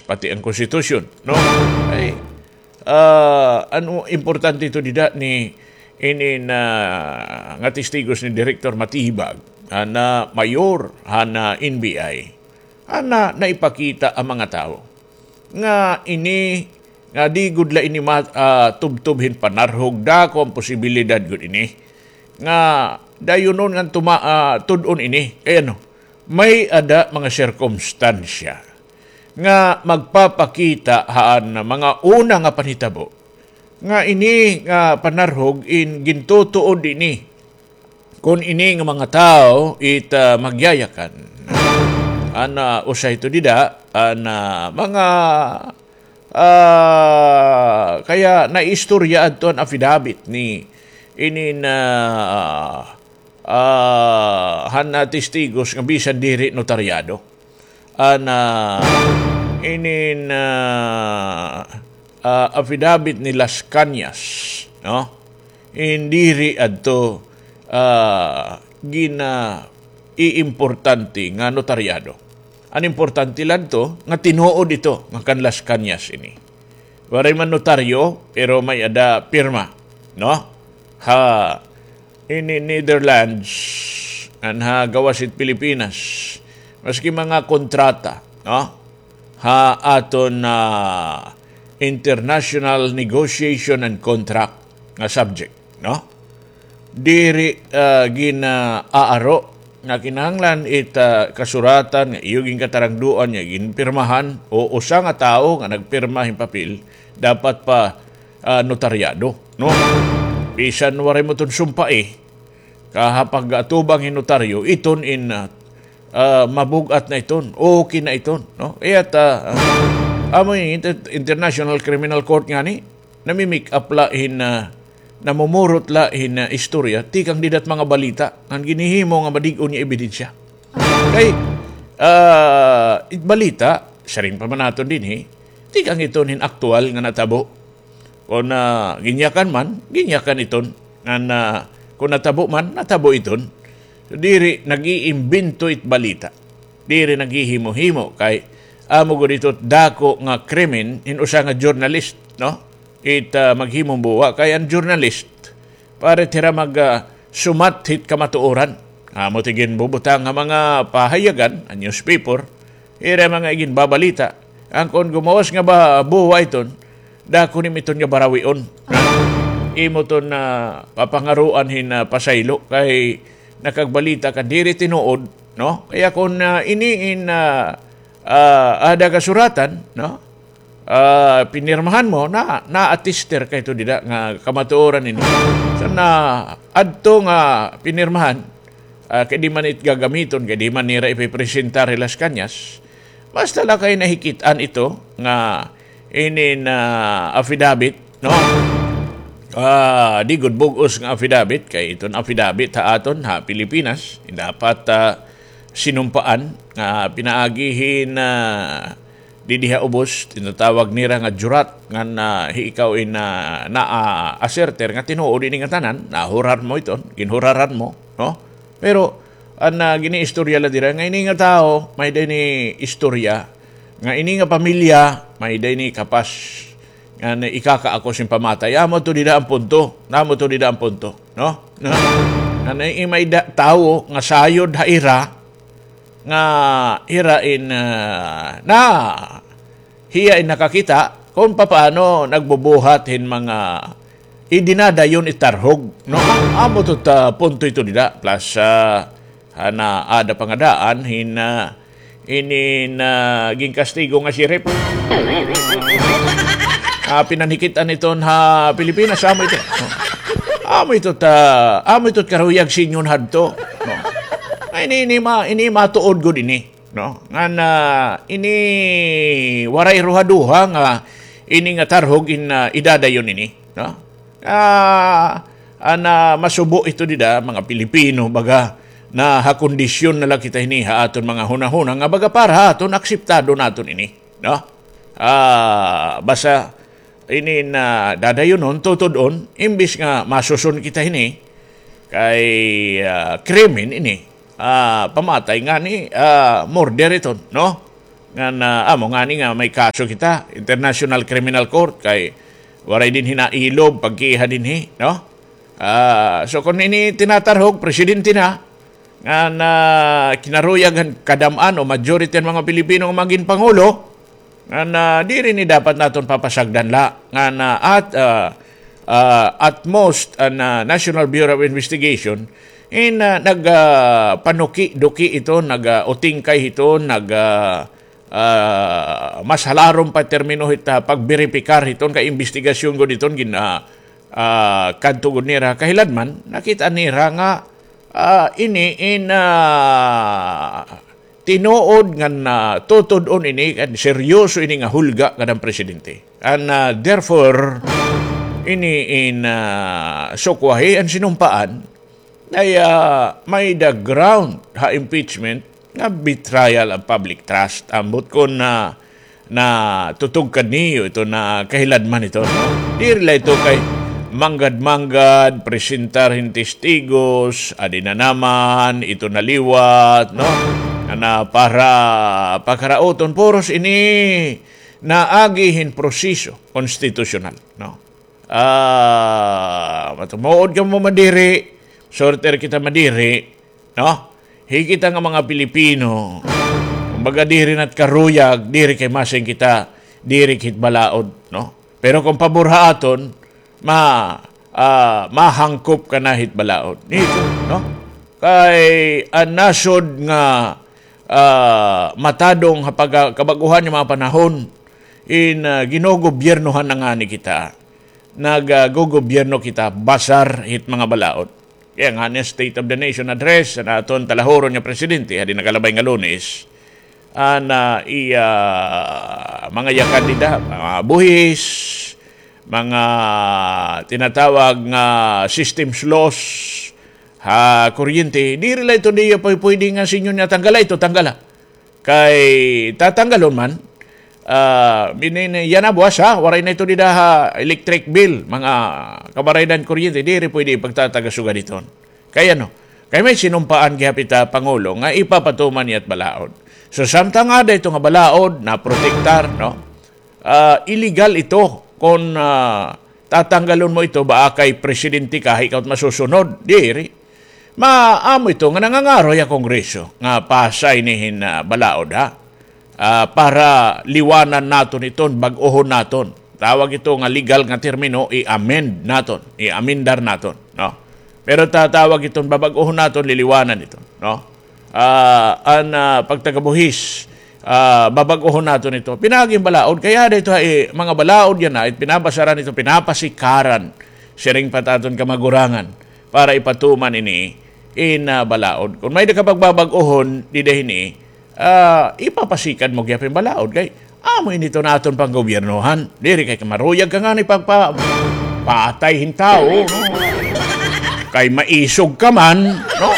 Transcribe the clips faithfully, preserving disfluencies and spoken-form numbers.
pati an konstitusyon, no? Ay, ah, ano importante ito dida ni ini na nga testigos ni Director Matibag, han, ah, mayor han, ah, N B I, han, ah, naipakita an mga tawo nga ini, nga di gud la ini ma-, ah, tubtob hin panarhog, dako an posibilidad gud ini nga dayonon ngan tuma-, ah, tud-on ini. Kay ano, may-ada mga sirkumstansya nga magpapakita han mga una nga panhitabo nga ini nga panarhog in gintutuod ini kon ini nga mga tawo it, ah, magyayakan. An, ah, usa ito dida, an, ah, mga, ah, kaya naistorya adto an affidavit ni ini na, ah, han, ah, testigos nga bisan diri notaryado. An, ah, inin, ah, ah, affidavit ni Las Cañas, no? Diri adto, ah, gina-iimportante nga notaryado. An importante la adto nga tinuod ito nga kan Las Cañas ini. Waray man notaryo, pero may-ada pirma, no? Ha ini Netherlands, ngan ha gawas hit Pilipinas, maski mga kontrata, no? Ha aton, ah, international negotiation and contract nga subject, no? Diri, ah, gin-aaro nga kinahanglan it, ah, kasuratan nga iyo ginkatarangduan nga ginpirmahan o usa nga tawo nga nagpirma hin papel dapat pa, ah, notaryado, no? Bisan waray mo iton sumpai, kaha pag-atubang hin notaryo, iton in, ah, ah, mabug-at na iton, okay na iton, no? Kay at, ah, ah, amo ini inter-, International Criminal Court ngani, nami-make up la hin, ah, namumurot la hin, ah, istorya tikang dida hit mga balita ngan ginhihimo nga madig-on nga ebidensya. Kay, ah, it balita, siring pa man naton dinhi, tikang iton hin aktuwal nga natabo. Kon, ah, ginyakan man, ginyakan iton. Ngan, ah, kon natabo man, natabo iton. Diri nag-iimbento it balita. Diri naghihimo-himo kay amo gud ito dako nga krimen hin usa nga journalist, no? It, ah, maghimumbuwa kay an journalist, para it hira mag, ah, sumat hit kamatuoran. Amo it ginbubutang ha mga pahayagan, an newspaper, hira mga iginbabalita. An kon gumawas nga ba buwa iton, dako nimo iton nga barawion. Imo iton, ah, papangaruan hin, ah, pasaylo kay nakagbalita ka diri tinuod, no? Kaya kon, ah, ini in, ah, ah, ada kasuratan, no? Ah, pinirmahan mo, na, na-attester ka ito dida nga kamatuoran ini. So, na adto nga pinirmahan, ah, kay di man it gagamiton, kay di man nira ipipresentar hi Las Cañas. Basta la kay nahikit-an ito nga ini na affidavit, no? Ah, di gud bug-os nga affidavit, kay iton affidavit ha aton, ha Pilipinas, dapat, ah, sinumpaan nga pinaagi hin, ah, didi ha ubos, tinatawag nira nga jurat, ngan, ah, hi ikaw in, ah, naa-asserter nga tinuod ini nga tanan, nahuraran mo iton, ginhuraran mo, no? Pero, an, ah, giniistorya la dira, nga ini nga tawo, may-ada ini istorya, nga ini nga pamilya, may-ada ini kapas, nga na ikakaakos hin pamatay. Amo ito dida an punto. Amo ito dida an punto, no? No? Nga na may-ada tawo nga sayod ha ira, nga hira in, ah, na, hiya in nakakita kon papaano nagbubuhat hin mga idinadayon it tarhog, no? Amo ito ta punto ito dida. Plus, ah, han, ah, ada pa nga daan hin, ah, ini na ginkastigo nga sheriff. Ah, pinanhikit-an iton ha Pilipinas, amo ito. Amo ito ta, amo ito karuyag singon hadto, no? Ay, ini, ini ma-, ini matuod gud ini, no? Ngan, ah, ini waray ruhaduha nga ini nga tarhog in, ah, idadayon ini, no? Ah, an, ah, masubo ito dida, mga Pilipino, baga, nahakondisyon na la kita hini ha aton mga hunahuna nga baga para ha aton, akseptado naton ini, no? Ah, basta ini na dadayonon, tutud-on, imbis nga masuson kita hini, kay, ah, krimen ini, ah, pamatay ngani, ah, murder iton, no? Ngan, ah, amo ngani nga may kaso kita, International Criminal Court, kay waray dinhi nailob pagkiha dinhi, no? Ah, so kon ini tinatarhog, presidente na, ngan, ah, kinaruyag han kadam-an o majority han mga Pilipino nga magin pangulo, ngan, ah, diri ini dapat naton papasagdan la, ngan, ah, at, ah, ah, at most, an, ah, National Bureau of Investigation, in, ah, nag, ah, panuki-duki ito, nag, ah, utingkay ito, nag, ah, ah, mas halarom pa termino hit, ah, pagberipikar hiton kay imbestigasyon gud hiton gin, ah, ah, kadto gud nira kahiladman, nakita nira nga, ah, ini in, ah, tinuod ngan, ah, tutud-on ini, kan seryoso ini nga hulga kan presidente. And, ah, therefore, ini in, ah, sukwahi an sinumpaan, ay, ah, may-ada ground ha impeachment nga betrayal of public trust. Ambot kon na, natutugkad niyo ito na kahiladman ito, no? Diri la ito kay manggad-manggad, presentar hin testigos, adi na naman, ito na liwat, no? Ana para pakarauton, puros ini naagi hin proseso konstitusyonal, no? Ah, matumuod kamo madiri, sorter kita madiri, no? Hi kita nga mga Pilipino, kumbaga diri nat karuyag, diri kay masing kita, diri hit balaod, no? Pero kon pabor ha aton, ma-, ah, mahangkop ka na hit balaod. Nito, no? Kay an nasod nga, ah, matadong ha pagka-, kabag-ohan nga mga panahon, in, ah, ginogobyernohan na ngani kita. Nag, ah, gogobyerno kita basar hit mga balaod. Kay ngani State of the Nation Address an aton talahuron nga presidente, hadi nakalabay nga Lunes, an, ah, iya mga yakad dida, mga buhis, mga tinatawag nga systems loss ha kuryente, diri la ito niya pwede nga sinyo niya tanggala ito, tanggala. Kay tatanggalon man, ah, binin-, yana buwas, ha, waray na ito dida ha electric bill, mga kabaraydan kuryente, diri pwede ipagtataga sugad iton. Kay ano? Kay may sinumpaan gihap ita Pangulo nga ipapatuman niya it balaod. So, samtang ada ito nga balaod, naprotektar, no? Ah, illegal ito kon, ah, tatanggalon mo ito, baa kay presidente ka, ikaw it masusunod. Diri. Ma-, amo ito nga nangangaroy ha Kongreso nga pasa ini hin, ah, balaod, ha? Ah, para liwanan naton iton, bag-ohon naton. Tawag ito nga legal nga termino, i-amend naton, i-amendar naton, no? Pero tatawag iton, babag-ohon naton, liliwanan iton, no? Ah, an, ah, pagtagabuhis, ah, babag-ohon naton ito. Pinaagi hin balaod, kay ada ito, eh, mga balaod yana, it pinabasaran ito, pinapasikaran, siring pa it aton kamagurangan, para ipatuman ini in, ah, balaod. Kon may-ada ka pagbabag-ohon dida hini, ah, ipapasikad mo gihap hin balaod, kay amo ini ito an aton panggobyernohan. Diri kay kamaruyag ka ngani pagpa-, patay hin tawo, no? Kay maisog ka man, no?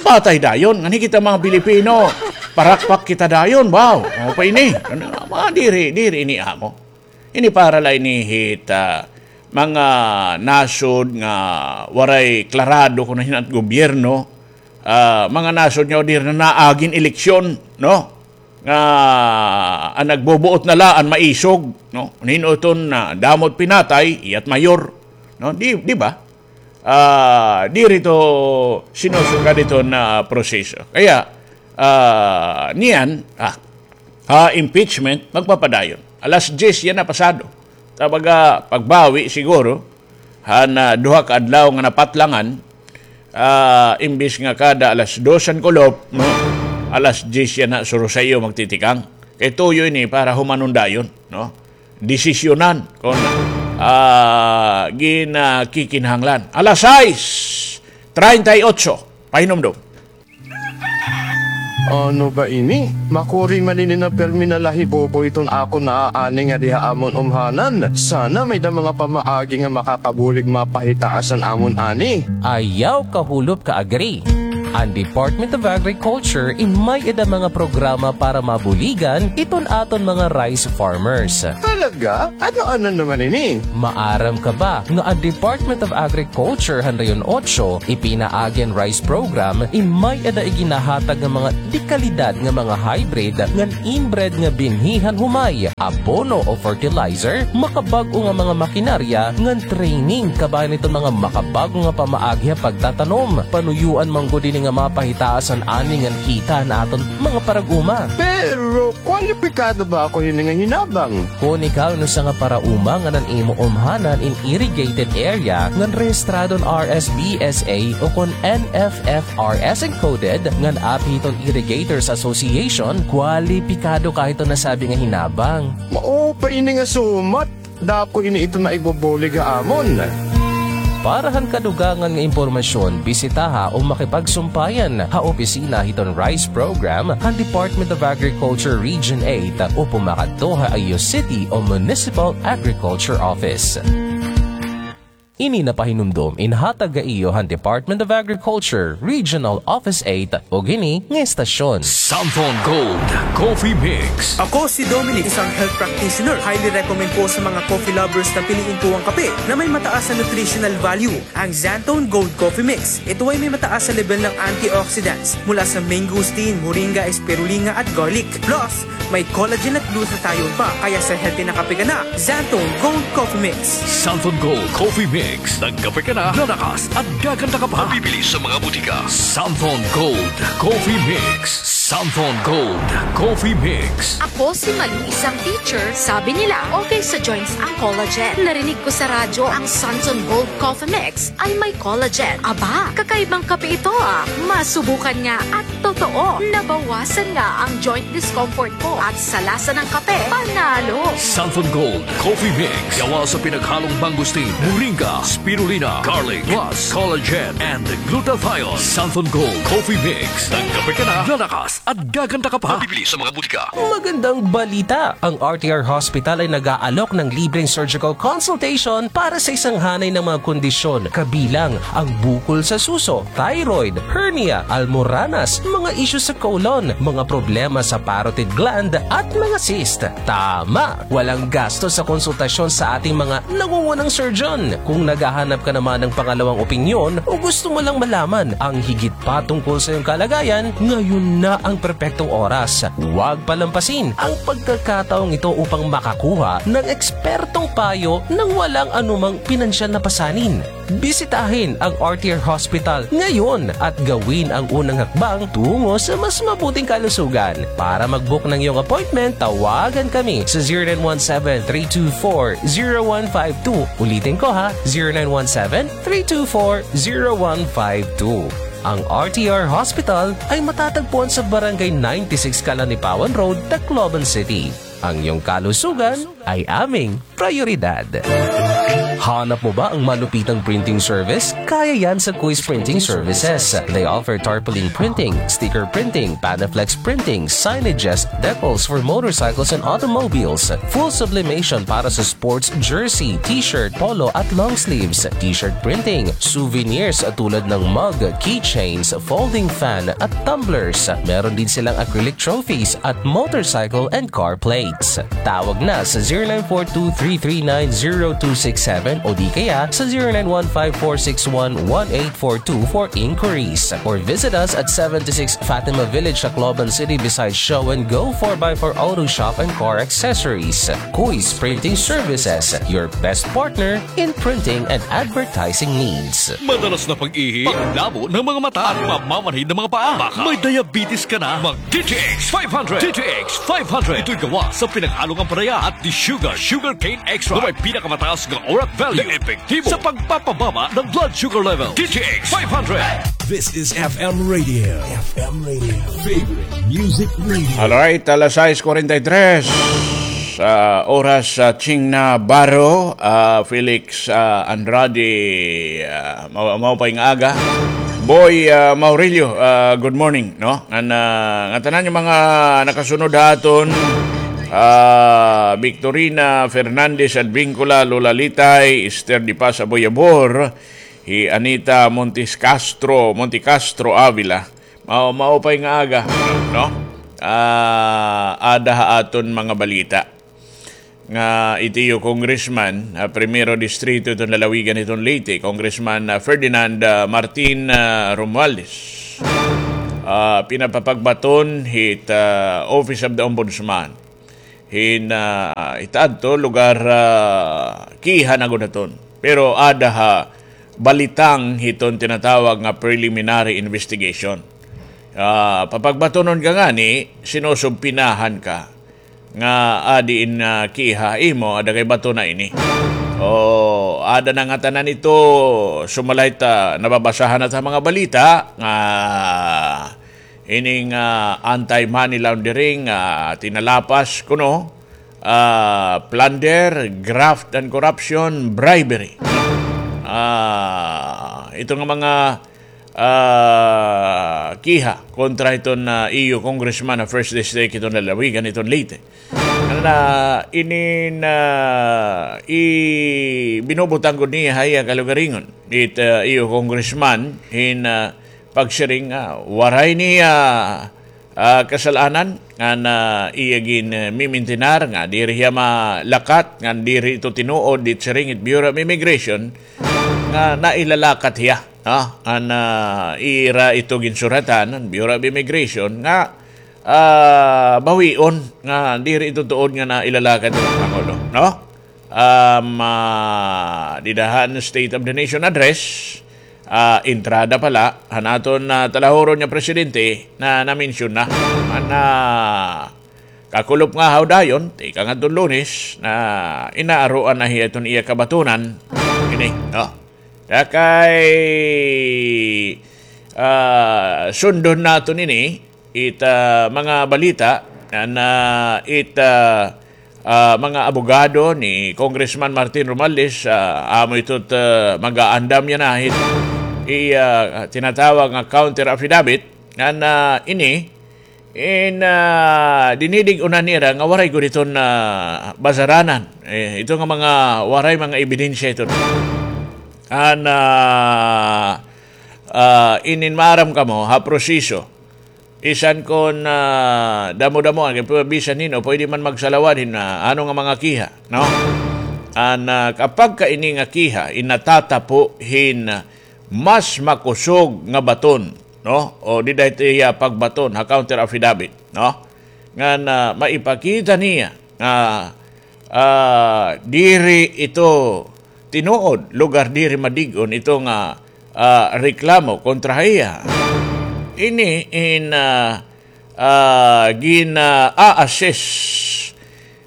Patay dayon. Ngani kita mga Pilipino, parakpak kita dayon, baw. Ano pa ini? Ano, mga diri, diri ini amo. Ini para la ini hit, ah, mga nasod nga waray klarado kon hin-o it gobyerno, ah, mga nasod nga diri na naagi hin eleksyon, no? Nga an nagbubuot na la an maisog, no? Hin-o iton, ah, damo it pinatay, iya it mayor, no? Di, di ba? Ah, diri ito sinusugad iton proseso. Kaya, ah, niyan, ah, ha impeachment, magpapadayon. Alas diyes yana pasado. Tabaga, pagbawi siguro, han, ah, duha ka adlaw nga napatlangan, ah, imbis nga kada alas dos an kulop, no? Alas diyes yana, suro sa iyo magtitikang. Kay tuyo ini para humanon dayon, no? Desisyonan kon, ah, gin-, ah, kikinahanglan. Alas sais treinta y ocho, pahinumdom. Ano ba ini? Makuri man ini na pirmi nalahibobo iton akon naaani ngadi ha amon umhanan. Sana may-ada mga pamaagi nga makakabulig mapahitaas an amon ani. Ayaw kahulop ka, Agri. An Department of Agriculture in may-ada mga programa para mabuligan iton aton mga rice farmers. Talaga? Ano-ano naman ini? Maaram ka ba nga an Department of Agriculture han Rehiyon Otso ipinaagi an rice program in may-ada iginahatag nga mga dekalidad nga mga hybrid ngan inbred nga binhi han humay, abono o fertilizer, makabag-o nga mga makinarya ngan training kabahin hiton mga makabag-o nga pamaagi ha pagtatanom. Panuyoan man gud ini nga mapahitaas an ani ngan kita han aton mga parag-uma. Pero kwalipikado ba ako hini nga hinabang? Kon ikaw in usa nga parauma ngan an imo umhanan in irrigated area ngan rehistrado han R S B S A o kon N F F R S encoded ngan api hiton Irrigators Association, kwalipikado ka hiton nasabi nga hinabang. Mao pa ini nga sumat. Dako ini ito nga igbubulig ha amon. Para han kadugangan nga impormasyon, bisitaha o makipagsumpayan ha opisina hiton rice program han Department of Agriculture Region eight o pumakadto ha iyo city o municipal agriculture office. Ini napahinumdom in hatag ha iyo han Department of Agriculture Regional Office eight ug hini nga estasyon. Santhon Gold Coffee Mix. Ako si Dominic, isang health practitioner. Highly recommend ko sa mga coffee lovers na piliin ko ang kape na may mataas na nutritional value, ang Xanthone Gold Coffee Mix. Ito ay may mataas na level ng antioxidants mula sa mangosteen, moringa, spirulina at garlic. Plus, may collagen at glutathione pa, kaya sa healthy na kape ka na, Xanthone Gold Coffee Mix. Santhon Gold Coffee Mix. Nagkape ka na, lalakas at gaganda ka pa. Mabibili sa mga butika. Santhon Gold Coffee Mix. Santhon Gold Coffee Mix. Ako si Malu, isang teacher. Sabi nila, okay sa joints ang collagen. Narinig ko sa radyo ang Santhon Gold Coffee Mix ay may collagen. Aba, kakaibang kape ito, ah. Masubukan nga at totoo, nabawasan nga ang joint discomfort ko at sa lasa ng kape, panalo. Santhon Gold Coffee Mix. Gawa sa pinaghalong mangosteen, moringa, spirulina, garlic, plus collagen and glutathione. Santhon Gold Coffee Mix. Nagkape ka na, lalakas at gaganda ka pa. Mabibili sa mga butika. Magandang balita! Ang R T R Hospital ay nag-aalok ng libreng surgical consultation para sa isang hanay ng mga kondisyon, kabilang ang bukol sa suso, thyroid, hernia, almoranas, mga isyu sa colon, mga problema sa parotid gland, at mga cyst. Tama! Walang gasto sa konsultasyon sa ating mga nangungunang surgeon. Kung naghahanap ka naman ng pangalawang opinyon o gusto mo lang malaman ang higit pa tungkol sa iyong kalagayan, ngayon na ang perpektong oras. Huwag palampasin ang pagkakataong ito upang makakuha ng ekspertong payo nang walang anumang pinansyal na pasanin. Bisitahin ang R T R Hospital ngayon at gawin ang unang hakbang tungo sa mas mabuting kalusugan. Para mag-book ng iyong appointment, tawagan kami sa zero nine one seven, three two four, zero one five two. Ulitin ko ha, zero nine one seven, three two four, zero one five two. Ang R T R Hospital ay matatagpuan sa Barangay ninety-six Calanipawan Road, Tacloban City. Ang iyong kalusugan ay aming prioridad. Hanap mo ba ang malupitang printing service? Kaya yan sa Kuis Printing Services. They offer tarpaulin printing, sticker printing, Panaflex printing, signages, decals for motorcycles and automobiles, full sublimation para sa sports jersey, t-shirt, polo at long sleeves, t-shirt printing, souvenirs tulad ng mug, keychains, folding fan at tumblers. Meron din silang acrylic trophies at motorcycle and car plates. Tawag na sa zero nine four two three three nine zero two six seven o di kaya sa zero nine one five four six one one eight four two for inquiries. Or visit us at seventy-six Fatima Village, Tacloban City, beside Show and Go four by four Auto Shop and Car Accessories. Kuis Printing Services, your best partner in printing and advertising needs. Madalas na pag-ihi, paglabo ng mga mata, at mamamanhid ng mga paa. Baka may diabetes ka na. Mag D T X five hundred. D T X five hundred. Ito'y gawa sa pinaghalong ampalaya at desugared sugarcane extract na may pinakamataas nga orat value na epektibo sa pagpapababa ng blood sugar level. D T X five hundred. This is F M Radio. F M Radio. Favorite music radio. Alright, alas sais kuwarenta y tres. Sa oras sa Ching Navarro, ah, Felix, ah, Andrade, ah, ma-, maupay nga aga. Boy, ah, Maurilio, ah, good morning, no? Ngan, ah, nga tanan nga mga nakasunod ha aton, ah, Victorina Fernandez Advincula, Lola Litay, Esther Di Paz Aboyabor, hi Anita Montes Castro, Monte Castro Avila. Mao, maupay nga aga, no? Ah, ada ha aton mga balita nga it iyo congressman, ah, primero distrito iton lalawigan iton Leyte, Congressman, ah, Ferdinand, ah, Martin, ah, Romualdez, ah, pinapapagbaton hit, ah, Office of the Ombudsman. Hin, ah, itaadto lugar, ah, kiha na gud haton. Pero ada ha balitang hiton tinatawag nga preliminary investigation. Ah, papagbatonon ka ngani, sinusubpinahan ka nga adi in, ah, kiha imo, ada kay bato na ini. O, ada na ngatanan ito, sumalay ta, nababasahan na ta mga balita nga ining, ah, anti-money laundering, ah, tinalapas kuno, ah, plunder, graft and corruption, bribery. Ah, ito nga mga, ah, kiha kontra iton, ah, iyo congressman ha first district iton lalawigan iton Leyte. Ano na, inin, ah, i-, binubutang gud niya ha iya kalugaringon. It, ah, iyo congressman, hin, ah, pagsiring, ah, waray niya, ah, kasal-anan, ngan iya gin, ah, mimintinar, nga diri hiya malakat, ngan diri ito tinuod, it siring it Bureau of Immigration, nga nailalakat hiya, no? Ngan, ah, ira ito ginsuratan, an Bureau of Immigration, nga, ah, bawion, nga diri ito tuod nga nailalakat ito, Pangulo, no? Um, ah, dida han State of the Nation Address, ah, entrada pala, han aton, ah, talahuron nga presidente na naminsyon na. Man, ah, kakulop nga haw dayon, tikang adton Lunes, na inaaroan na hiya iton iya kabatonan. Ini, no? Kay, ah, sundon naton ini, it, ah, mga balita na, na it, ah, ah, mga abogado ni Congressman Martin Romualdez, ah, amo ito, ah, mag-aandam yana hit, i, ah, tinatawag nga counter affidavit, na, na ini, in, ah, dinidig-unan nira nga waray gud iton, ah, basaranan. Eh, ito nga mga waray mga ebidensya ito. An, ah, ah, inin maaram kamo ha proseso. Bisan kon, ah, damo-damo, kay pu-, bisan hin-o, pwede man magsalawad hin, ah, ano nga mga kiha, no? An, ah, kapag ka ini nga kiha, in natatapo hin, ah, mas makusog nga baton, no? O dida ito iya pagbaton ha counter affidavit, no? Ngan, ah, maipakita niya nga, ah, diri ito tinuod, lugar diri madig-on ito nga, ah, reklamo kontra ha iya. Ini in, ah, ah, gina-assess,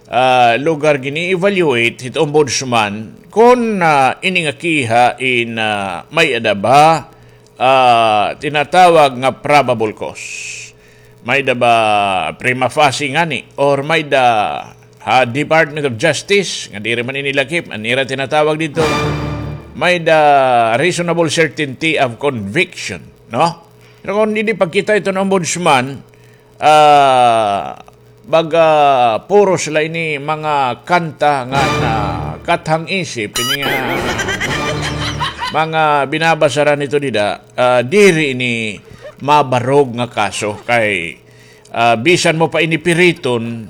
ah, lugar gini-evaluate hit ombudsman kon, ah, ini nga kiha in, ah, may-ada ba, ah, tinatawag nga probable cause. May-ada ba prima facie ngani? Or may-ada ha Department of Justice, nga diri man ini lakip, an ira tinatawag didto, may-ada reasonable certainty of conviction, no? Pero kon didi pagkita iton ombudsman, ah, baga puros la ini mga kanta nga nakathang isip, ini nga mga binabasaran ito dida, ah, diri ini mabarog nga kaso kay, ah, bisan mo pa ini piriton,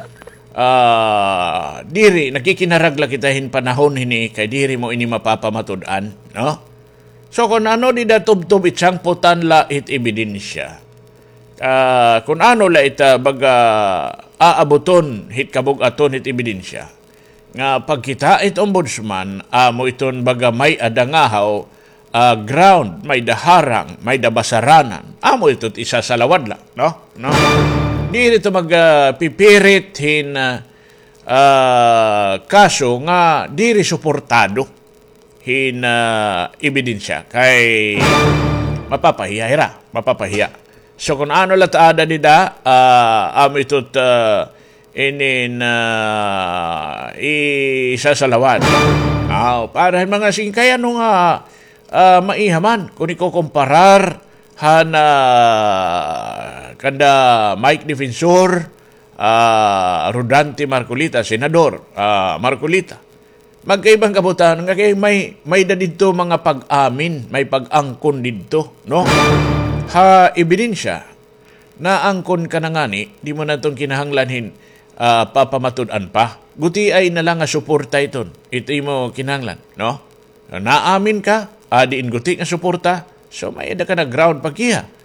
ah, diri, nakikinarag la kita hin panahon hini kay diri mo ini mapapamatud-an, no? So, kun ano dida tubtob it sangputan la it ebidensya. Ah, kun ano la ita baga aabuton hit kabug-aton hit ebidensya. Nga pagkita it ombudsman, amo iton baga may-ada ngahaw, ah, ground, may-ada harang, may-ada basaranan. Amo ito it isasalawad la, no? No? Diri ito mag, ah, pipirit hin, ah, ah, kaso nga diri suportado hin, ah, ebidensya kay mapapahiya hira, mapapahiya. So, kun ano la it aada dida, ah, amo ito it, ah, inin, ah, isasalawad. Aw, para hin mga singkay, ano nga, ah, maiha man, kun ikukumparar han, ah, kanda Mike Defensor, ah, Rodante Marcoleta, Senador, ah, Marcoleta. Magkaibang kabutang nga kay may, may da didto mga pag-amin, may pag-angkon didto, no? Ha ebidensya, naangkon ka na ngani, di mo na iton kinahanglan hin, ah, papamatud-an pa. Gutiay na la nga suporta iton, ito imo kinahanglan, no? Naamin ka, ah, diin guti nga suporta, so may-ada ka na ground pagkiha.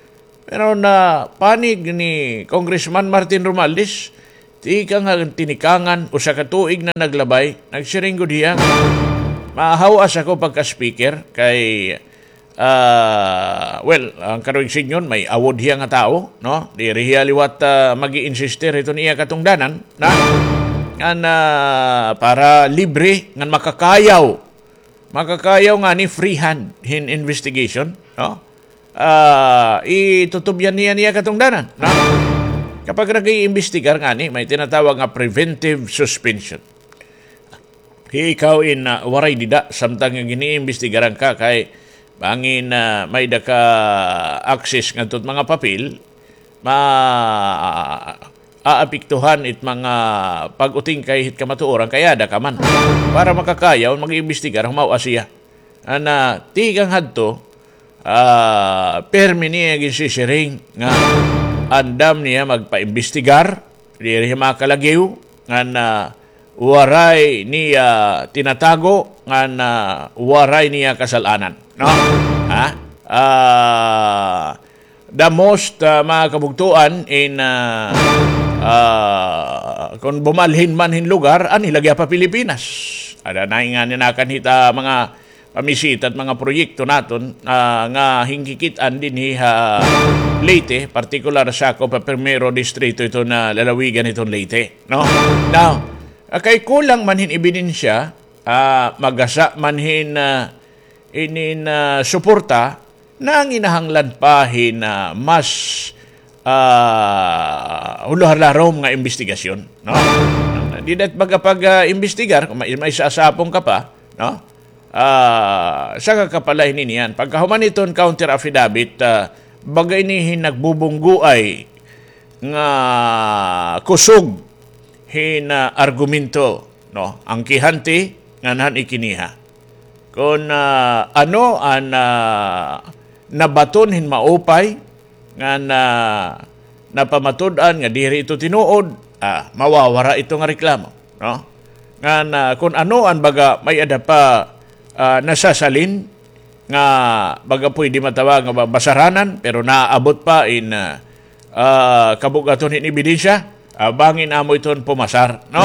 Pero napanig ni Congressman Martin Romualdez, tikang ha tinikangan, usa ka tuig na naglabay, nagsiring gud hiya nga, mahaw-as ako pagka-speaker kay, ah, well, an karuyag sidngon, may awod hiya nga tawo, no? Diri hiya liwat, ah, mag-i-insistir hiton iya katungdanan, na, ngan, ah, para libre, ngan makakayaw. Makakayaw ngani free hand hin investigation, no? Ah, itutubyan niya niya katungdanan, no? Kapag nag-iimbestigar ngani, may tinatawag nga preventive suspension. Ikaw in, ah, waray dida, samtang nga giniimbestigaran ka kay bangin, ah, may-ada ka access ngadto hit mga papel, ma-, aapektuhan it mga pag-utingkay hit kamatuoran kay aada ka man. Para makakayaw, mag-iimbestigar, humaw-as hiya. An, ah, tikang hadto, ah, pirmi niya ginsisiring nga andam niya magpaimbestigar, diri makalagiw, ngan, ah, waray niya tinatago, ngan, ah, waray niya kasal-anan. No? Ha? Ah, the most, ah, mga kabugtoan in, ah, ah, kon bumalhin man hin lugar, anhi la gihap ha Pilipinas. Ada na nga ninakan hita mga pamisita at mga proyekto naton, ah, nga hinkikit-an dinhi ha Leyte, partikular sa ako pa primero distrito ito na lalawigan iton Leyte, no? Now, ah, kay kulang man hin ebidensya, ah, magasa man hin, ah, inin, ah, suporta, nanginahanglan pa hin, ah, mas, ah, huluhalarom nga imbestigasyon, no? Dida it baga pag, ah, imbestigar, kon may, may sasapong ka pa, no? Ah, saka ka pa la hiniyan. Pagkahuman hiton counter affidavit, ah, baga ini hin nagbubunggoay nga kusog hin, ah, argumento, no? An kihante ngan han ikiniha. Kon, ah, ano an, ah, nabaton hin maupay ngan, ah, napamatud-an nga diri ito tinuod, ah, mawawara ito nga reklamo, no? Ngan, ah, kon ano an baga may-ada pa, ah, nasasalin nga baga pwede matawag nga ba-, basaranan, pero naabot pa in, ah, ah, kabug-aton hin ebidensya, ah, bangin amo iton pumasar, no?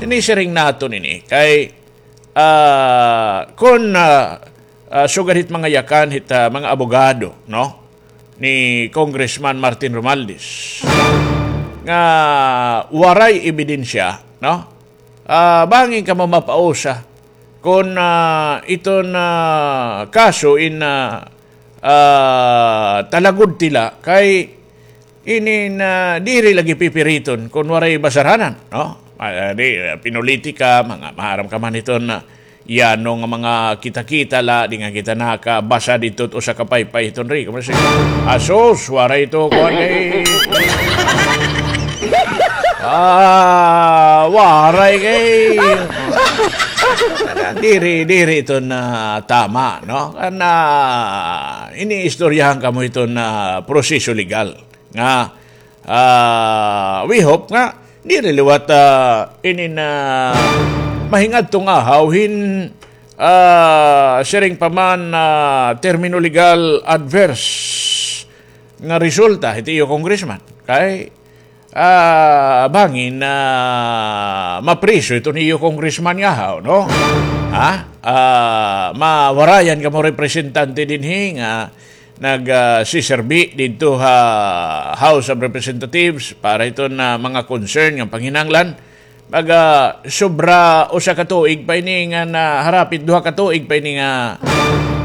Sinisiring naton ini kay, ah, kon, ah, ah, sugad hit mga yakan hit, ah, mga abogado, no, ni Congressman Martin Romualdez, nga waray ebidensya, no? Ah, bangin kamo mapausa kon, ah, iton, ah, kaso in, ah, ah, talagod tila kay ini na diri lagi pipiriton kon waray basaranan, no? Ah, di, ah, pinulitika, mga maaram ka man iton, ah, yano nga mga kita-kita la, di nga kita nakabasa didto usa ka paypay hiton ri. Kamo si, asus, waray ito, kuwan kay, ah, waray kay, diri, diri ito na tama, no? Kana, iniistoryahan kamo ito na proseso legal. Nga, ah, we hope nga diri liwat, ah, inin, ah, mahingadto nga haw hin, ah, siring pa man, ah, termino legal adverse nga resulta hit iyo congressman. Kay, ah, bangin, ah, mapriso iton iyo congressman nga haw, no? Ha? Ah, mawarayan kamo representante dinhi nga nag, ah, siserbi didto ha House of Representatives para hiton mga concern nga panginahanglan. Baga, sobra usa ka tuig pa ini nga na, harapit duha ka tuig pa ini nga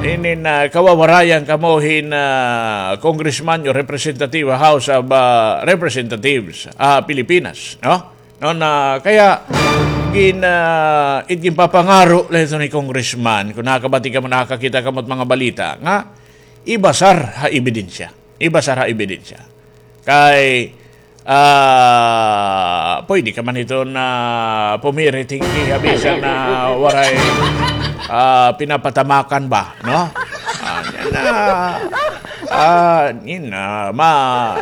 ini na kawawarayan kamo hin, ah, congressman o representative ha House of, ah, Representatives, ah, Pilipinas, no? No, na, kaya gin, ah, it ginpapangaro la ito ni congressman, kon nakabati kamo, nakakita kamo hit mga balita, nga ibasar ha ebidensya. Ibasar ha ebidensya. Kay, Ah, pwede ka man iton pumirit hin kiha bisan na waray, ah, pinapatamakan ba, no? Ah, yana, ah, yana, ma-,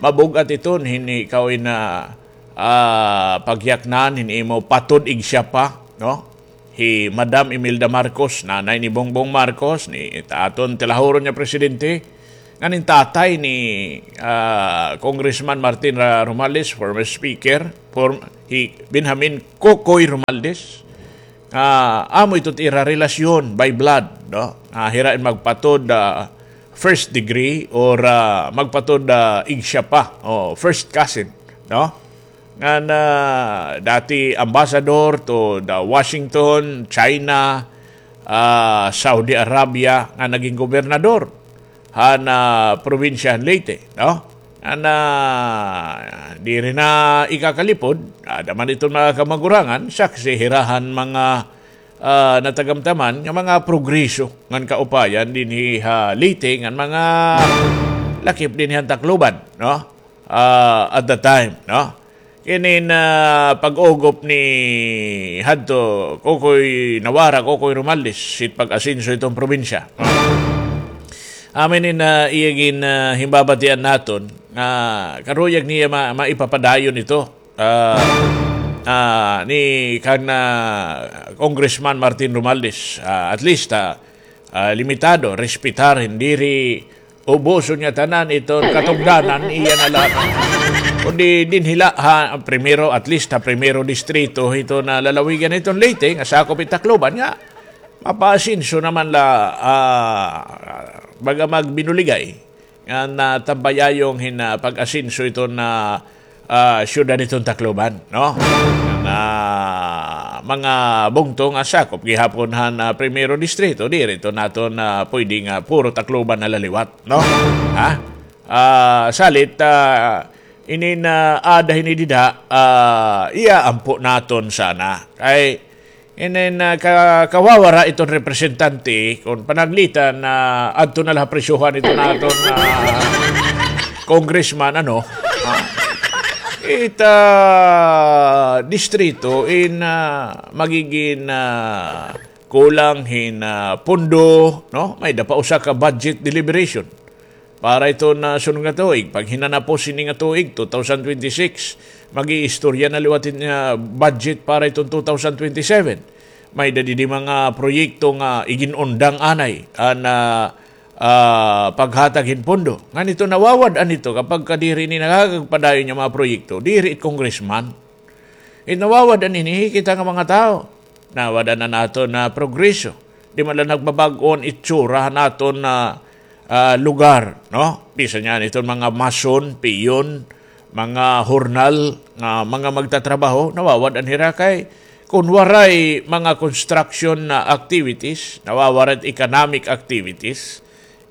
mabug-at iton hin ikaw in, ah, ah, pagyaknan hin imo patod igsiya pa, no? Hi Madam Imelda Marcos, nanay ni Bongbong Marcos, ni aton tilahuron nga presidente, ngan in tatay ni, ah, Congressman Martin Ra-, Romualdez, former speaker, form-, hi Benjamin Kokoy Romualdez, ah, amo ito it ira relasyon by blood, no? Ah, hira in magpatod, ah, first degree or, ah, magpatod, ah, igsiya pa, o first cousin, no? Ngan, ah, dati ambassador to the Washington, China, ah, Saudi Arabia, nga naging gobernador han, ah, probinsya han Leyte, no? Ngan, ah, diri na ikakalipod, ada man iton mga kamagurangan, saksi hira han mga, ah, natagamtaman nga mga progreso ngan kaupayan dinhi ha Leyte ngan mga lakip dinhi han Tacloban, no? Ah, at the time, no? Kinin, ah, pag-ugop ni hadto Kokoy Nawara, Kokoy Romualdez, it pag-asenso hiton probinsya. Amo ini in, ah, iya gin, ah, himbabatian naton, nga karuyag niya ma-, maipapadayon ito, ah, ah, ni kan, ah, Congressman Martin Romualdez, ah, at least, ah, ah, limitado, respetar, diri ubuson niya tanan iton katugdanan, iya na la. Kundi dinhi la ha primero, at least ha primero distrito, hiton lalawigan hiton Leyte, nga sakop it Tacloban, nga mapaasenso naman la, ah, baga magbinuligay nga natambayayong hin, ah, pag-asenso iton, ah, ah, syudad hiton Tacloban, no? Nga mga bungto nga sakop gihapon han, ah, primero distrito, diri ito naton, ah, pwede nga puro Tacloban na la liwat, no? Ha? Ah, salit, ah, ini nga ada hini dida, ah, iya ampo naton sana. Kay inin, ah, ka-, kawawara iton representante, kon panaglitan na adto na la ha presyohan iton aton, ah, congressman, ano, ah, it, ah, distrito in, ah, magigin, ah, kulang hin, ah, pondo, no? May-ada pa usa ka budget deliberation para iton, ah, sunod nga tuig. Paghinanapos ini nga tuig, two thousand twenty-six, mag-iistorya na liwat hin, ah, budget para iton two thousand twenty-seven. May-ada didi mga proyekto nga igin-undang anay an, ah, ah, paghatag hin pondo. Ngan ito nawawad-an ito kapag ka diri ini nakakagpadayon nga mga proyekto, diri it congressman. It nawawad-an ini, kita nga mga tawo. Nawad-an an aton nga progreso. Di man la nagbabag-o an itsura han aton nga, ah, lugar, no? Bisan yana iton mga mason, piyon, mga hornal, nga mga magtatrabaho, nawawad-an hira kay kon waray mga construction na activities, nawawara it economic activities,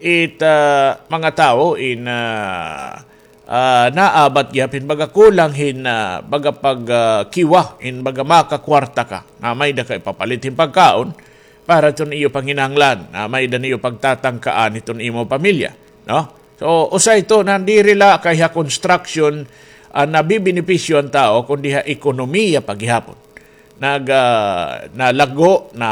it, ah, mga tawo in, ah, ah, naabat gihap hin baga kulang hin, ah, baga pag, ah, kiwa hin baga makakwarta ka nga may-ada ka ipapalit hin pagkaon para iton iyo panginahanglan, nga may-ada niyo pagtatangkaan hiton imo pamilya, no? So, usa ito nga diri la kay ha construction an nabibenepisyo an tawo, kundi ha ekonomiya pa gihapon. Nag-, ah, nalago, na,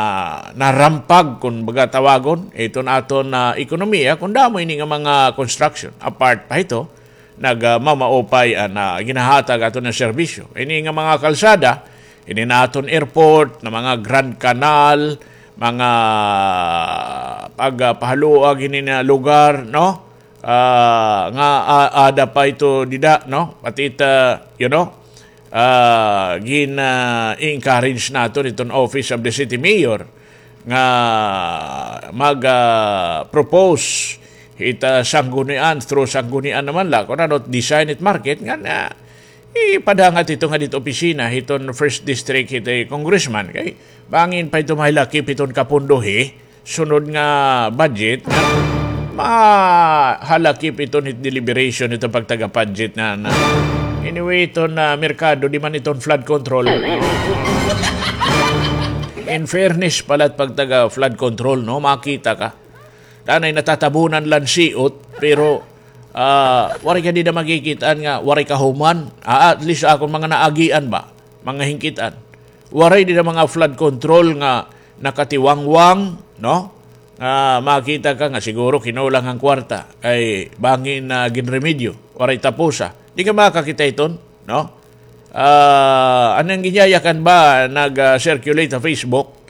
narampag, kon baga tawagon, iton aton nga ekonomiya, kon damo ini nga mga construction. Apart pa hito, nag-, ah, mamaupay an, ah, ginahatag aton nga serbisyo. Ini nga mga kalsada, ini nga aton airport, nga mga Grand Canal, mga pag-, ah, pahaluag ini nga lugar, no? Ah, nga, ah, ada pa ito dida, no? Pati it, ah, you know, ah, gin, ah, encourage naton iton Office of the City Mayor nga mag, ah, propose it, ah, sanggunian, through sanggunian naman la, kon ano, design it market, nga na, ipadangat ito nga dito opisina, hiton first district, hito congressman, kay bangin pa ito mahalakip hiton kapondo, he, sunod nga budget, mahalakip iton hit deliberation, iton pagtaga-budget na, na. Anyway, iton, ah, merkado, di man iton flood control. In fairness pala, pagtaga flood control, no, makita ka. Danay natatabunan la hin siot, pero Ah, waray ka dida makikit-an nga waray kahuman. Ah, at least akon mga naagian ba, mga hingkit-an. Waray dida mga flood control nga nakatiwangwang, no? Nga makita ka nga siguro kinulang an kwarta. Kay bangin na ginremedyo, waray tapusa. Di ka makakita iton, no? Ah, an giyayakan ba nag, ah, circulate ha Facebook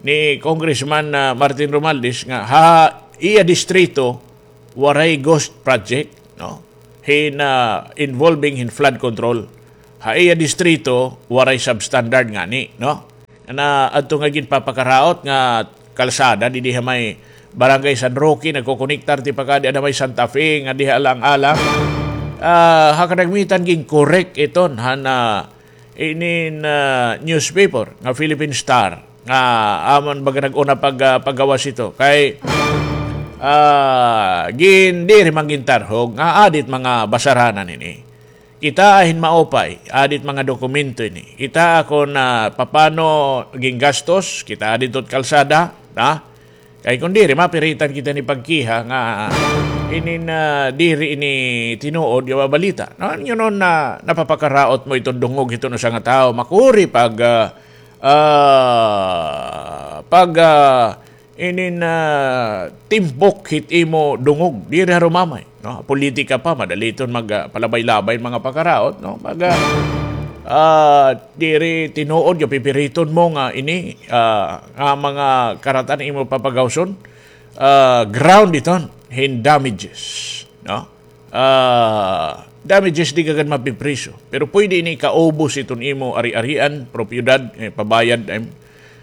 ni Congressman, ah, Martin Romualdez nga ha iya distrito waray ghost project, no? Hin, ah, involving hin flood control. Ha iya distrito waray substandard ngani, no? Na adto nga ginpapakaraot nga kalsada didi ha may Barangay San Roque, nagkokonektar ti pakadi ada may Santa Fe nga diha alang-alang. Ah, ha kadagmitan gin-correct iton han, ah, inin, ah, newspaper nga Philippine Star nga amon baga nag-una pag, ah, paggawas ito kay, ah, gin diri man gintarhog nga adit mga basaranan ini. Kita hin maupay, adit mga dokumento ini. Kita kon, ah, papano gingastos, kita adit ot kalsada, na? Kay kon diri, mapiritan kita ni pagkiha nga inin, ah, diri ini tinuod nga mga balita. No? Yun on na napapakaraot mo iton dungog hiton usa nga tawo. Makuri pag, ah, ah, pag, ah, inin, ah, timbok hit imo dungog. Diri harumamay, no? Politika pa, madali iton mag, ah, palabay-labay mga pakaraot, no? Mag, ah, ah, diri tinuod nga pipiriton mo nga ini, ah, nga mga karatan imo papagawson, ah, ground iton hin damages, no? Ah, damages di ka gad mapipriso. Pero pwede ini kaubos iton imo ari-arian, propiedad, eh, pabayad, em,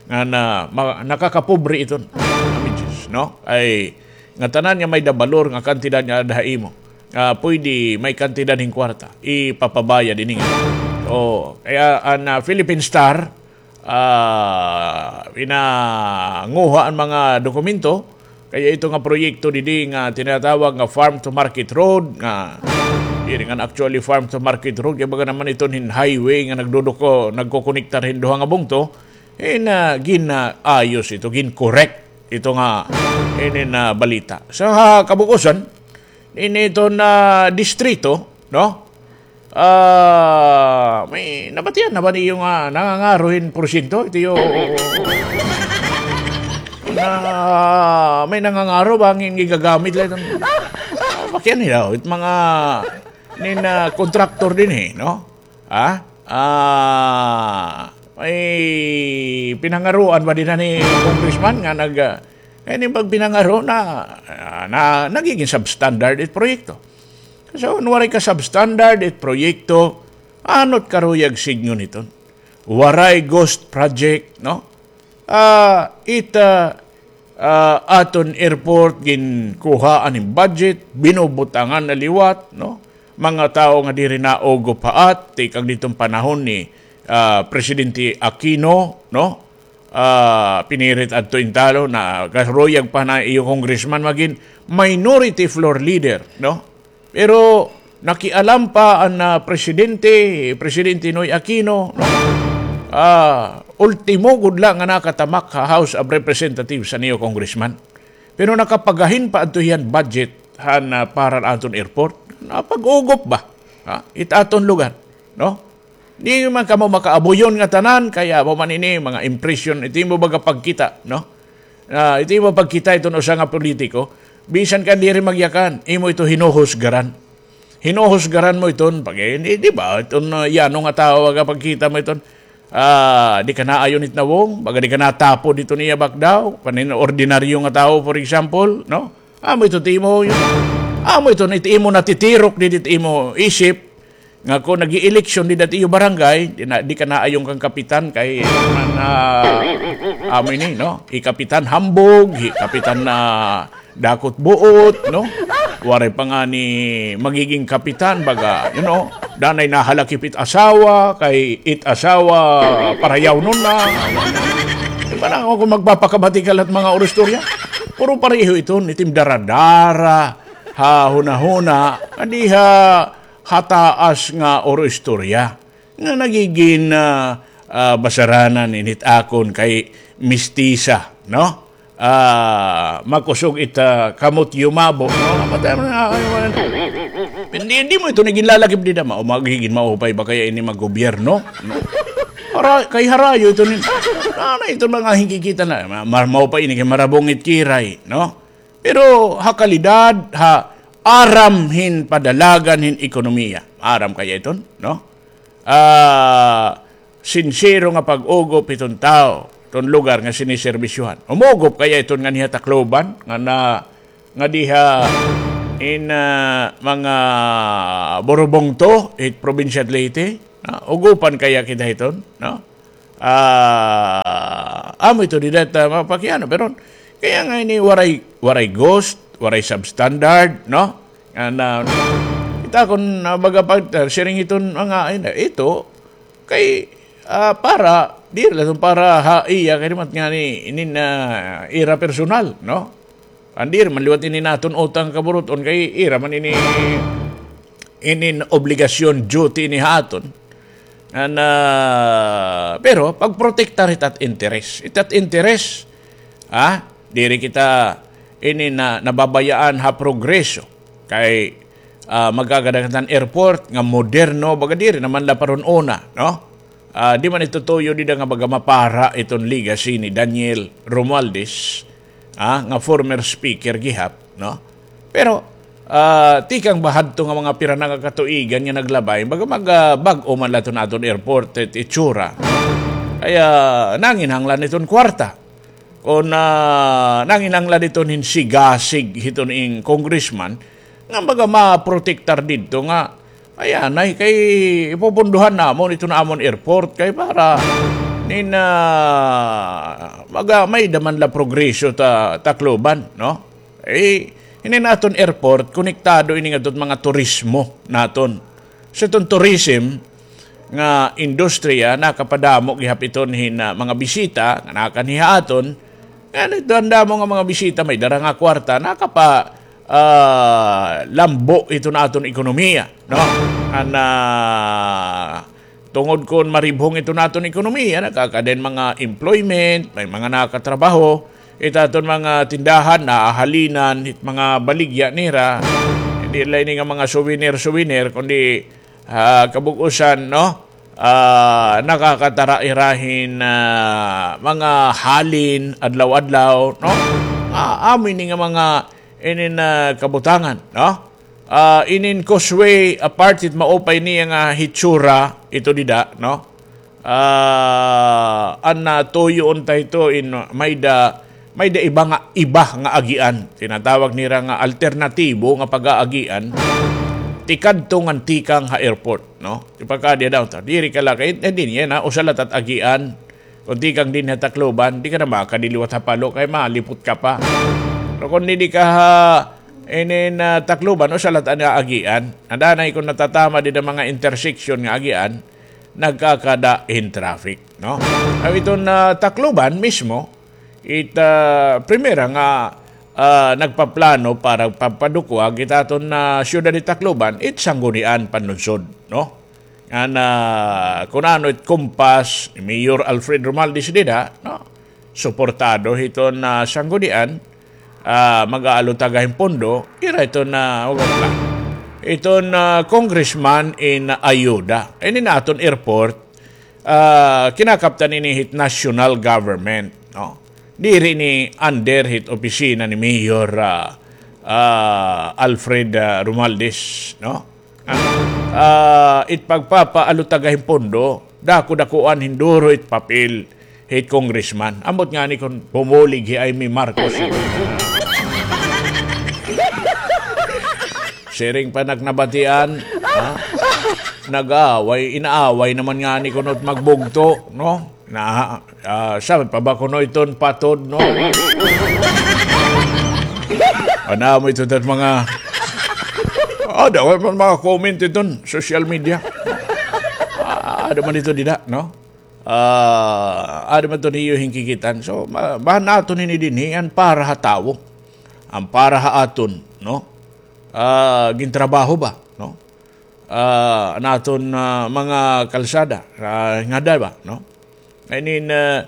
nga na, ma-, nakakapobre iton. Damages, no? Ay, nga tanan nga may dabalor nga kantidad nga ada ha imo. Ah, pwede may kantidad hin kwarta. Ipapabayad ini nga. So, kaya an, ah, Philippine Star, ah, pinanguha an mga dokumento, kaya ito nga proyekto didi nga tinatawag nga farm to market road, nga diri nga actually farm to market road, kaya baga naman iton hin highway nga nagduduko, nagkokonektar hin duha nga bungto, eh, na ginaayos ito, gin-correct ito nga, ini na balita. Sa kabug-osan, ini ito na distrito, no? Ah, may nabatian na ba niyo nga nangangaro hin porsyento? Ito yung, na, may nangangaro ba ang gigagamit lang itong, ah, bakyan nila, it mga, nin, ah, contractor din eh, no? Ah, ah, may pinangaruan ba din na ni congressman nga nag, ah, kaya ni pag pinangaro na, ah, na nagiging substandard it proyekto. So, kun waray ka substandard it proyekto, ano't karuyag sidngon iton? Waray ghost project, no? Ah, it, ah, ah, aton airport, ginkuhaan hin budget, binubutangan na liwat, no? Mga tawo nga diri naugop haat, tikang diton panahon ni, ah, Presidente Aquino, no? Ah, pinirit adto intalo na karuyag pa na iyo congressman magin minority floor leader, no? Pero nakialam pa an, ah, presidente, Presidente Noy Aquino, no? Ah, ultimo gud la nga nakatamak ha House of Representatives an iyo congressman. Pero nakapagahin pa adto hiya hin budget han, ah, para han aton airport. Napag-ugop ba? Ha? It aton lugar, no? Di man kamo makaabuyon nga tanan, kay amo man ini, mga impression, ito imo baga pagkita, no? Ah, ito imo pagkita iton usa nga politiko, bisan ka diri magyakan, imo ito hinuhusgaran. Hinuhusgaran mo iton, pag, eh, di, di ba, iton, ah, yano nga tawo, baga pagkita mo iton, ah, di ka naayon it nawong, baga di ka natapod iton iya bakdaw, panin ordinaryo nga tawo, for example, no? Amo ito it imo, amo ito it imo natitirok didi it imo isip, nga kon nag-ieleksyon dida ha iyo barangay, di na, di ka naayon kan kapitan kay man, ah, amo ini, no? Hi Kapitan Hambog, hi Kapitan, ah, Dakot Buot, no? Waray pa ngani magiging kapitan, baga, you know, danay nahalakip it asawa, kay it asawa, parayawnon na. Di ba na ako kung magpapakabati ka lahat mga oristorya? Puro pareho iton, itim daradara, ha hunahuna, nga diha ha taas nga oro istorya nga nagigin, ah, ah, basaranan ini it akon kay mistisa, no? ah, makusog it, ah, kamot yumabo. No? Matay mo na, ay, wala na. Hindi, hindi mo ito naging lalakip dida. Ma-, magiging maupay ba kaya ini maggobyerno? No? Para, kay harayo ito ni, ano ito mga hingkikita na, ma-, ma-, maupay ini kay marabong it kiray, no? Pero ha kalidad, ha aram hin padalagan hin ekonomiya. Aram kaya iton, no? Ah, sinsero nga pag-ugop hiton tawo, hiton lugar nga siniserbisyohan. Umugop kaya iton nganhi ha Tacloban, nga na, nga diha in, ah, mga Borobongto, hit probinsya Leyte, ah, ugupan kaya kita hiton, no? Ah, amo ito dida ta mapakiano, pero kaya nga ini waray, waray ghost, waray substandard, no? An, ah, kita kon, ah, baga pag, ah, siring iton mga, ina, ito, kay, ah, para, diri la iton para ha iya, kay dimat nga ni, inin, ah, ira personal, no? An diri man liwat ini naton utang kaburut-on, kay ira man ini, inin obligasyon, duty ini ha aton. An, ah, pero pagprotektar hit at interes. Hit at interes, ah, diri kita ini na, nababayaan ha progreso. Kay, ah, magkakadagatan airport nga moderno, baga diri naman la parun una, no? Ah, di man ito tuyo dida nga baga mapara iton legacy ni Daniel Romualdez, ah, nga former speaker gihap, no? Pero, ah, tikang ba hadto nga mga pira na nga katuigan nga naglabay, baga mag, ah, bag-o man la iton aton airport, it itsura. Kaya nanginahanglan iton kwarta. Kon, ah, nanginahanglan iton hin sigasig hiton ing congressman, nga baga maprotektar didto nga, ayan, ay kay ipupunduhan namon iton amon airport kay para nin, ah, baga may-ada man la progreso ta Tacloban, no? Eh, ini naton airport, konektado ini ngadto hit mga turismo naton. Sa iton tourism nga industriya, nakapadamo gihap iton hin, ah, mga bisita nga nakanhi ha aton. Ngan ito, an damo nga mga bisita, may dara nga kwarta, nakapa, ah, lambo iton aton ekonomiya, no? An, ah, tungod kon maribhong iton aton ekonomiya, nakakada hin mga employment, may mga nakatrabaho, it aton mga tindahan, naahalinan, it mga baligya nira, hindi la ini nga mga souvenir-souvenir, kundi, ah, kabug-osan, no? Ah, nakakatara hira hin, ah, mga halin, adlaw-adlaw, no? Ah, amo ini nga mga inin, ah, kabutangan, no? Ah, inin causeway, apart hit maupay niya nga hitsura, ito dida, no? Ah, an, ah, tuyo unta ito in may-ada, may-ada iba nga, iba nga agian. Tinatawag nira nga alternatibo nga pag-aagian. Tikadto ngan tikang ha airport, no? Ipagkadi daw ta. Diri ka lakay, eh, di niya na, usa la it at agian. Kon tikang dinhi ha Tacloban, di ka na makadi liwat ha Palo, kay malipot ka pa. Pero kon dinhi ka ha, inin, ah, Tacloban, usa la it an agian. An danay kon natatama dida mga intersection nga agian, nagkakada hin traffic, no? Aw, iton, ah, Tacloban mismo, it, ah, primera nga, ah, nagpaplano para pagpadukwag it aton, ah, syudad hit Tacloban, it Sangguniang Panlunsod, no? Ngan, ah, kun ano it kumpas ni Mayor Alfred Romualdez dida, no? Suportado hiton, ah, Sanggunian, ah, mag-aalutaga hin pondo, ira iton, ah, iton, ah, congressman in ayuda. Ini naton airport, ah, kinakaptan ini hit national government, no? Diri ini under hit opisina ni Mayor, ah, ah, Alfred, ah, Romualdez, no? Ah, it pagpapaalutaga hin pondo, dako-dakoan hin duro it papel hit congressman. Ambot ngani kon pumulig hi Imee Marcos. Siring pa nak nabatian, ha? Nag-aaway, inaaway naman ngani kuno it magbugto, no? Na, ah, sabi pa ba kuno iton patod, no? Ano mo ito, tat mga, ah, daway man mga comment iton social media. Ah, ada man ito dida, no? Ah, ada man ito niyo hingkikitan. So, ma-, bahan naton ini dinhi, an para ha tawo. An para ha aton, no? Ah, gintrabaho ba, no? Ah, an aton, ah, mga kalsada, ah, ngada ba, no? I mean, ah,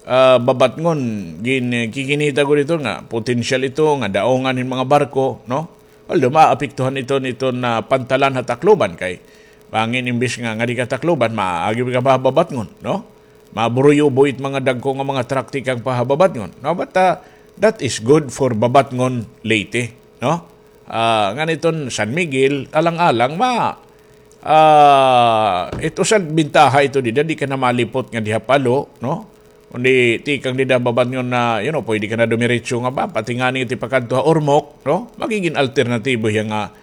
ah, Babatngon, gin-, kikinita gud ito nga potensyal ito nga daungan hin mga barko, no? Although maapektuhan ito niton, ah, pantalan ha Tacloban kay bangin imbis nga ngadi ka Tacloban, maagi ka pa ha Babatngon, no? Maburuyobo it mga dagko nga mga truck tikang pa ha Babatngon, no? But, ah, that is good for Babatngon, Leyte, no? Ah, ngan iton San Miguel, alang-alang, ma-, ah, it usa bintaha ito dida, di ka na malipot nga diha palo, no? Kundi tikang dida Babatngon na, you know, pwede ka na dumiretso nga ba, pati ngani it ipakadto ha Ormoc, no? Magigin alternatibo hiya nga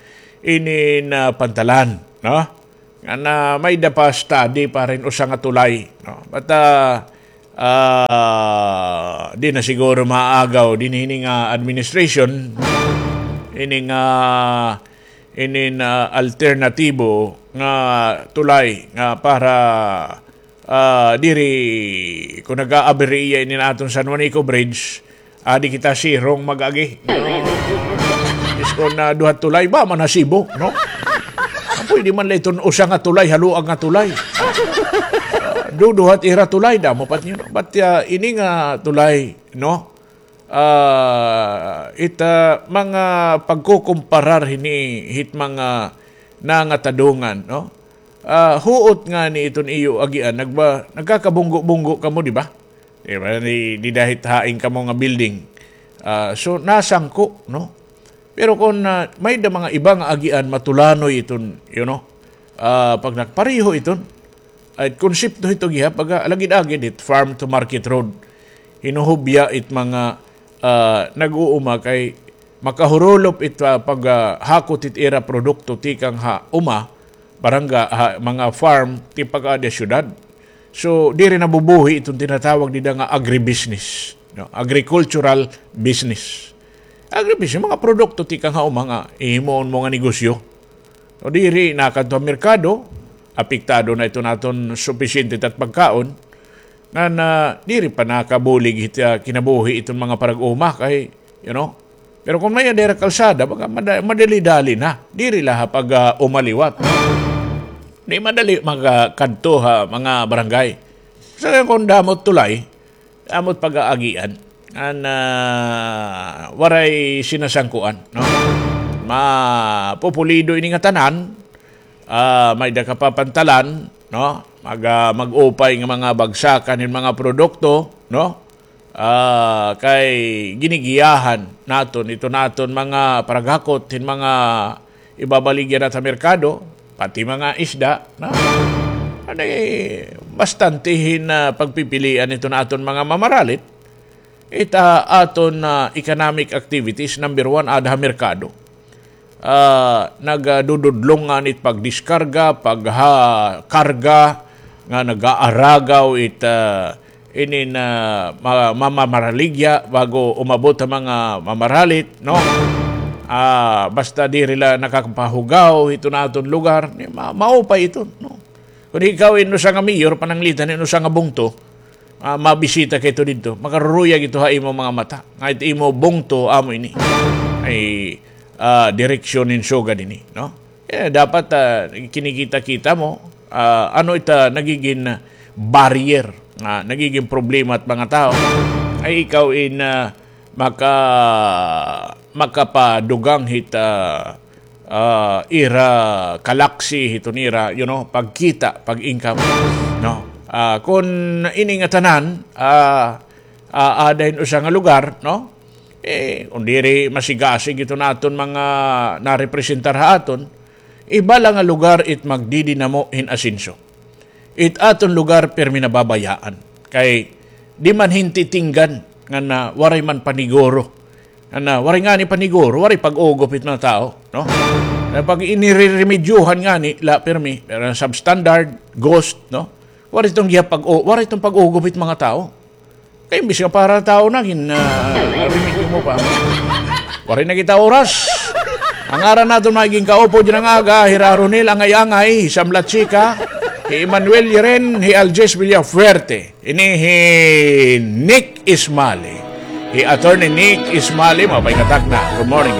inin, ah, pantalan, no? Ngan may-ada pa study para hin usa nga tulay, no? But, ah, ah, di na siguro maagaw dinhi hini nga administration, ini nga, inin, ah, alternatibo nga tulay nga para, ah, diri, kon nag-aabri iya inin aton San Juanico Bridge, adi kita sirong mag-agi. Iskon na duha tulay ba man ha Cebu, no? Ah, pwede man la iton usa nga tulay, haluag nga tulay. Ah, duduha it ira tulay, damo pa it, you know. But, ah, ini nga tulay, no? Ah, it, ah, mga pagkukumparar hini hit mga nangatadungan, no? Ah, huot ngani iton iyo agian, nagba-, nagkakabunggo-bunggo kamo, di ba? Di ba? Di, di dahit hain kamo nga building. Ah, so, nasangko, no? Pero kon, ah, may-ada mga iba nga agian, matulanoy iton, you know, ah, pag nagpareho iton, ay konsepto hito gihap, baga, alagid-agid it farm to market road. Hinuhubya it mga, ah, nag-uuma kay makahurulop it, ah, pag, ah, hakot it ira produkto tikang ha uma, barangay, ha, mga farm, tipag-adi ha syudad. So, diri nabubuhi iton tinatawag dida nga agribusiness, no? Agricultural business. Agribusiness, mga produkto tikang ha uma nga hihimuon mo nga negosyo. O diri, nakadto ha merkado, apektado na iton aton supisyente it at pagkaon, ngan diri pa nakabulig hit, ah, kinabuhi iton mga parag-uma kay, you know. Pero kon may-ada hira kalsada, baga mada-, madali-dali na. Diri la ha pag, ah, uma liwat. Di madali makakadto ha mga barangay. Sa kon damo it tulay, amo it pag-aagian. An, ah, waray sinasangkuan, no? Mapupulido ini ngatanan, ah, may-ada ka pa pantalan, no? Mag-, ah, mag-upay nga mga bagsakan hin mga produkto, no? Ah, kay ginigiyahan naton iton aton mga paraghakot hin mga ibabaligya naton ha merkado, pati mga isda, no? Ano, eh, bastante hin, ah, pagpipilian iton aton mga mamaralit. It, ah, aton, ah, economic activities, number one, aada ha merkado. Ah, nagdududlong ngani it pagdiskarga, pagha-, karga, nga nag-aaragaw it, ah, inin, ah, ma-, mamamaraligya bago umabot ha mga mamaralit, no? Ah, basta diri la nakakapahugaw hiton aton lugar, ni ma-, maupay iton, no? Kon ikaw in usa nga mayor, pananglitan in usa nga bungto, ah, mabisita ka ito didto, makaruruyag ito ha imo mga mata. Nga it imo bungto, amo ini. Ay, ah, direksyon hin sugad ini, no? Eh, dapat, ah, kinikita-kita mo, ah, ano ita nagigin barrier, ah, nagigin problema it mga tawo. Ay ikaw in, ah, maka-, makapadugang hit, ah, ah, ira kalaksi hiton ira, you know, pagkita, pag-income, no? Ah, kon ini ngatanan, ah, ah, aada hin usa nga lugar, no? Eh, kon diri masigasig iton aton mga narepresentar ha aton, iba la nga lugar it magdidinamo hin asenso. It aton lugar pirmi nababayaan. Kay di man hin titinggan ngan waray man paniguro. Ngan waray ngani paniguro, waray pag-ugop it mga tawo, no? Kay pag iniriremedyohan ngani la pirmi, pero substandard, ghost, no? Waray iton gihap pag-, waray iton pag-ugop it mga tawo. Kay imbis nga para tawo na, gin, ah, remedyo mo pa. Waray na kita oras. An ngaran naton mga ginkaupo dyan nga aga, hi Ra Ronel Angay-angay, hi Sam Lachika, hi Emmanuel Yeren, hi Aljes Villafuerte. Ini hi Nick Ismali. Hi Attorney Nick Ismali, maupay nga takna. Good morning.